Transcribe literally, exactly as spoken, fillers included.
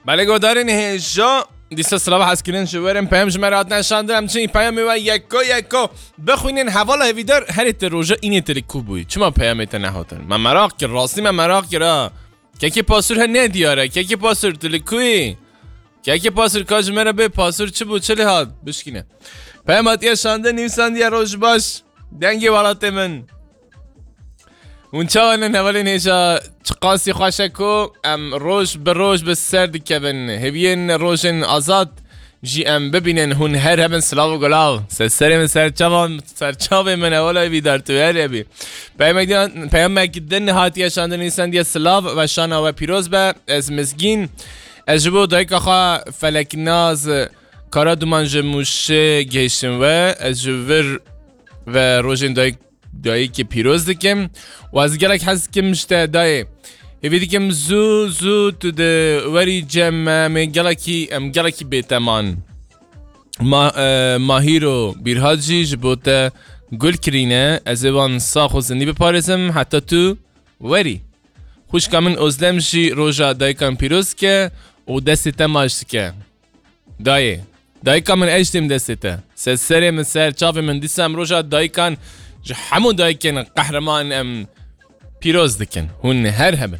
Belê guhdarên hêja, dîsa silava hezkirin ji werin peyam ji me re hatine şandin, em çi peyamê we yeko yeko bixwînin. Hevala hêvîdar, herê te roja înê te li ku bûyî? Çima peyamê te nehatin? Me meraq kir, rastî me meraq kir ha. Kekê Pasûr he ne diyar e. Kekê Pasûr, tu li ku yî? Kekê Pasûr, ka ji me re bê, Pasûr çi bû, çi lê hat? Bişkîne. Peyam hatiye şandin, nivîsandiye roj baş. Dengê welatê min. Hûn çawa ne hevalên hêja, çiqasî xweş e ku em roj bi roj bi ser dikevin. Hêviyên rojên azad jî em bibînin. Hûn her hebin, silav û gulav. Ser serê min, ser çavan, ser çavê min, hevala hêvîdar, tu her hebî. Peyamek din, peyamek din hatiye şandin, nivîsandiye silav, weşana we pîroz be. Ez Mizgîn. Ez ji bo dayika xwe Feleknaz Karaduman ji Mûşê gihiştim we. Ez ji vir ve rojên dayik, dayikê pîroz dikim. Û ez gelek hez dikim ji te dayê. Hêvî dikim zû zû tu di werî cem me, em ê gelekî, em gelekî bêteman. Ma-, e, Mahîro Bîrhat jî ji bo te gul kirîne. Ez ê wan sax û zindî biparêzim heta tu werî. Xwişka min Ozlem jî roja dayikan pîroz dike û destê te maç dike. Dayê, dayika min, ez jî têm destê te. Ser serê min, ser çavê min, dîsa em roja dayikan ji hemû dayikên qehreman em pîroz dikin. Hûn her hebin.